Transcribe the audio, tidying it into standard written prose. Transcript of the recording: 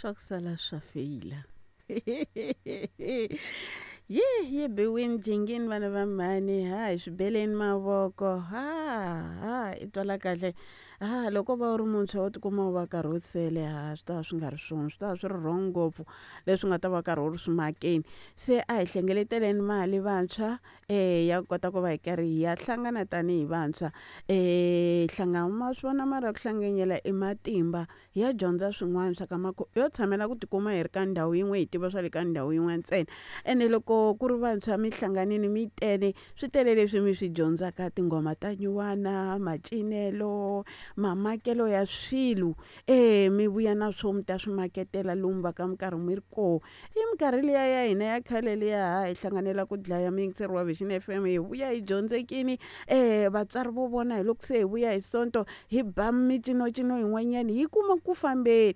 Swa ku sala swa feyila. Yi yi biwini jingini vana va mhani, ha hi swi beleni mavoko, ha ha i twala kahle. Ha loko va u ri muntshwa wo tikuma u va karhi u sele ha swi ta va swi nga ri swona, swi ta va swi ri wrong ngopfu leswi nga ta va karhi u ri swi makeni. Se a hi hlengeleteleni mali vantshwa ya kota ku va hi karhi hi ya hlangana tanihi vantshwa. Hlangana ma swi vona mara ku hlanganyela i matimba, hi ya dyondza swin'wana swa ka yo tshamela ku tikuma hi ri ka ndhawu yin'we hi tiva swa le ka ndhawu yin'we ntsena. Ene loko ku ri vantshwa mi hlanganile mi tele, swi tele leswi mi swi dyondzaka tinghoma ta nyuwana, macinelo, mamakelo ya swilo. E mi vuya na swo mi ta swi maketela lomu va ka mi karhi mi ri koho. I minkarhi liya ya hina ya khale liya ha hi hlanganela ku dlaya muyingiseri wa Vision FM hi vuya hi dyondzekile. Vatswari vo vona hi loko se hi vuya hi Sonto hi ba micinocino yin'wanyana hi kuma ku fambeni.